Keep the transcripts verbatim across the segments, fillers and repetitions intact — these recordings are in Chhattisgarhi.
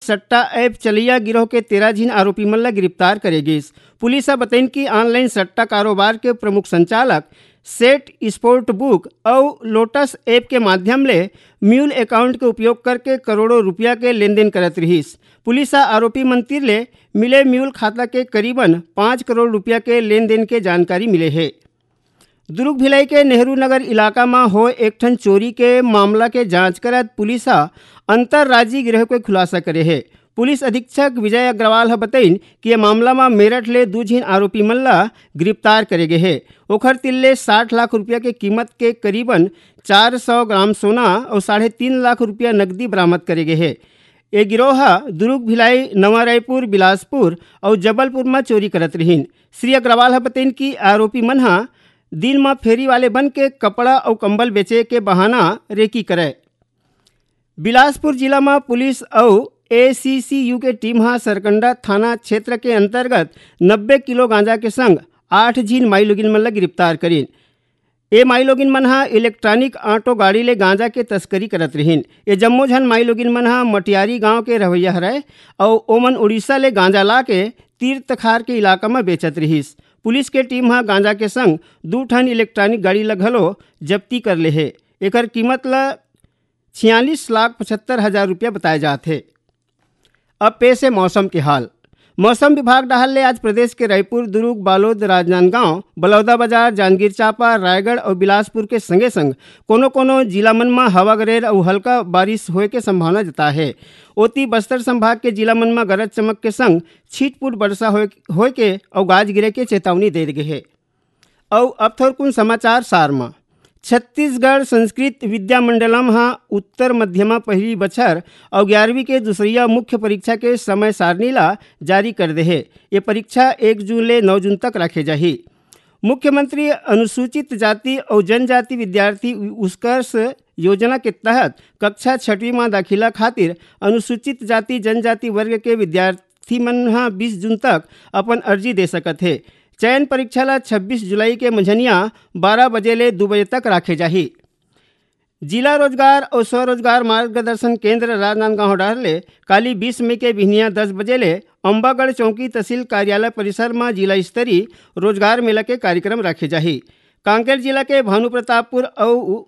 सट्टा ऐप चलैया गिरोह के तेरह झिन आरोपी मन ला गिरफ्तार करे गिस। पुलिस ह बतइन कि ऑनलाइन सट्टा कारोबार के प्रमुख संचालक सेट स्पोर्ट बुक अउ लोटस ऐप के माध्यम ले म्यूल अकाउंट के उपयोग करके करोड़ों रुपया के लेन देन करत रिहिस। पुलिस ह आरोपी मन तीर ले मिले म्यूल खाता के करीबन पाँच करोड़ रुपया के लेन देन के जानकारी मिले हे। दुर्ग भिलाई के नेहरू नगर इलाका म होए एक ठन चोरी के मामला के जांच करत पुलिस ह अंतर्राज्यीय गिरोह के खुलासा करे हे। पुलिस अधीक्षक विजय अग्रवाल ह बतइन कि ये मामला म मेरठ ले दू झिन आरोपी मन ला गिरफ्तार करे गे हे। ओखर तीर ले साठ लाख रुपया के कीमत के करीबन चार सौ ग्राम सोना अउ साढ़े तीन लाख रुपया नकदी बरामद करे गे हे। ये गिरोह ह दुर्ग, भिलाई, नवा रायपुर, बिलासपुर अउ जबलपुर म चोरी करत रिहिन। श्री अग्रवाल ह बतइन कि आरोपी मन ह दिन म फेरी वाले बन के कपड़ा अउ कंबल बेचे के बहाना रेकी करय। बिलासपुर जिला म पुलिस अउ एसीसीयू के टीम ह सरकंडा थाना क्षेत्र के अंतर्गत नब्बे किलो गांजा के संग आठ झिन माईलोगिन मन ल गिरफ्तार करिन। ए माईलोगिन मन ह इलेक्ट्रॉनिक ऑटो गाड़ी ले गांजा के तस्करी करत रिहिन। ये जम्मो झन माईलोगिन मन ह मटियारी गांव के रहवैया हरय अउ ओमन उड़ीसा ले गांजा ला के तीर तखार के इलाका म बेचत रिहिस। पुलिस के टीम ह गांजा के संग दू ठन इलेक्ट्रॉनिक गाड़ी ल घलो जब्ती कर ले हे। एकर कीमत ल छियालीस लाख पचहत्तर हजार रुपया बताए जात हे। अब पेश हे मौसम के हाल। मौसम विभाग डहार ले आज प्रदेश के रायपुर, दुर्ग, बालोद, राजनांदगांव, बलौदाबाजार, जांजगीर चांपा, रायगढ़ अउ बिलासपुर के संगे संग कोनो कोनो जिला मन म हवा गरेर अउ हल्का बारिश होए के संभावना जताए हे। ओती बस्तर संभाग के जिला मन म गरज चमक के संग छिटपुट वर्षा होए, होए के अउ गाज गिरे के चेतावनी दे गे हे। अउ अब थोरकुन समाचार सार म। छत्तीसगढ़ संस्कृत विद्या मंडलम ह उत्तर मध्यमा पहिली बछर अउ ग्यारहवीं के दूसरइया मुख्य परीक्षा के समय सारणी ला जारी कर दे हे। ये परीक्षा एक जून ले नौ जून तक राखे जाही। मुख्यमंत्री अनुसूचित जाति अउ जनजाति विद्यार्थी उत्कर्ष योजना के तहत कक्षा छठवीं म दाखिला खातिर अनुसूचित जाति जनजाति वर्ग के विद्यार्थी मन ह बीस जून तक अपन अर्जी दे सकत हे। चयन परीक्षा ला छब्बीस जुलाई के मंझनिया बारह बजे ले दू बजे तक राखे जाही। जिला रोजगार अउ स्वरोजगार मार्गदर्शन केंद्र राजनांदगांव डहर ले काली बीस मई के बिहनिया दस बजे ले अम्बागढ़ चौकी तहसील कार्यालय परिसर म जिला स्तरीय रोजगार मेला के कार्यक्रम राखे जाही। कांकेर जिला के भानुप्रतापपुर अउ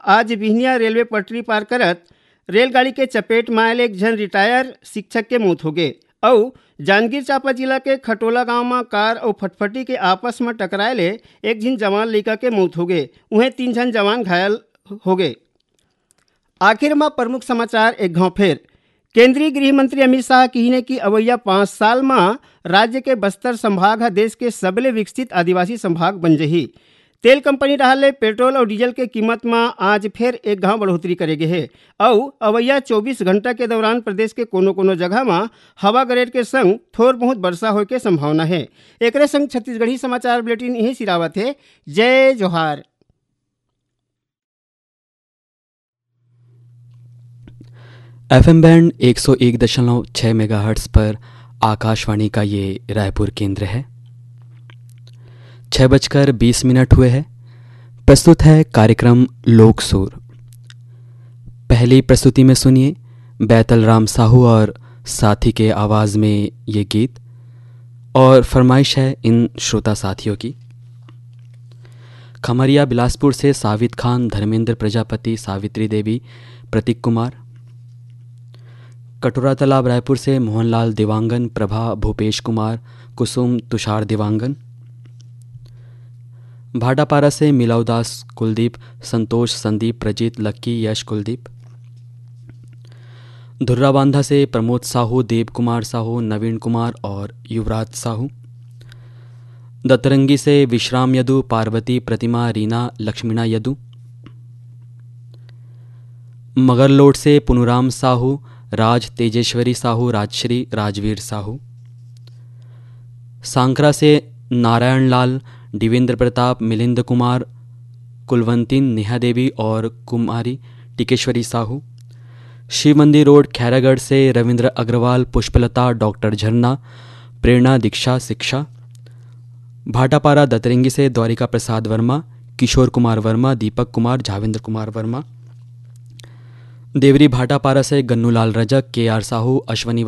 आज बिहनिया रेलवे पटरी पार करत रेलगाड़ी के चपेट म आए ले एक झन रिटायर शिक्षक के मौत होगे अउ जांजगीर चांपा जिला के खटोला गांव म कार अउ फटफटी के आपस म टकराए ले एक झिन जवान लइका के मौत होगे, उहें तीन झन जवान घायल होगे। आखिर म प्रमुख समाचार एक घांव फेर। केंद्रीय गृह मंत्री अमित शाह किहिने कि अवइया पाँच साल म राज्य के बस्तर संभाग ह देश के सबले विकसित आदिवासी संभाग बन जही। तेल कंपनी डहार ले पेट्रोल अउ डीजल के कीमत म आज फेर एक घांव बढ़ोतरी करे गे हे अउ अवइया चौबीस घंटा के दौरान प्रदेश के कोनो-कोनो जगह म हवा गरेर के संग थोर बहुत वर्षा होए के संभावना हे। एकरे संग छत्तीसगढ़ी समाचार बुलेटिन इहीं सिरावत हे। जय जोहार। एफएम बैंड एक सौ एक दशमलव छह मेगाहर्ट्ज़ पर आकाशवाणी का ये रायपुर केंद्र है। छः बजकर बीस मिनट हुए हैं। प्रस्तुत है कार्यक्रम लोक सुर। पहली प्रस्तुति में सुनिए बैतल राम साहू और साथी के आवाज़ में ये गीत। और फरमाइश है इन श्रोता साथियों की। खमरिया बिलासपुर से सावित खान, धर्मेंद्र प्रजापति, सावित्री देवी, प्रतीक कुमार। कटोरा तालाब रायपुर से मोहनलाल देवांगन, प्रभा, भूपेश कुमार, कुसुम, तुषार देवांगन। भाटापारा से मिलाव दास, कुलदीप, संतोष, संदीप, प्रजीत, लक्की, यश, कुलदीप। धुर्राबांधा से प्रमोद साहू, देव कुमार साहू, नवीन कुमार और युवराज साहू। दतरंगी से विश्राम यदु, पार्वती, प्रतिमा, रीना, लक्ष्मीणा यदु। मगरलोड से पुनुराम साहू, राज, तेजेश्वरी साहू, राजश्री, राजवीर साहू। सांकरा से नारायण लाल, देवेंद्र प्रताप, मिलिंद कुमार, कुलवंतीन, नेहा देवी और कुमारी टिकेश्वरी साहू। शिव मंदिर रोड, खैरागढ़ से रविंद्र अग्रवाल, पुष्पलता, डॉक्टर झरना, प्रेरणा, दीक्षा, शिक्षा। भाटापारा दतरंगी से द्वारिका प्रसाद वर्मा, किशोर कुमार वर्मा, दीपक कुमार, झावेंद्र कुमार वर्मा। देवरी भाटापारा से गन्नूलाल रजक, के आर साहू, अश्वनी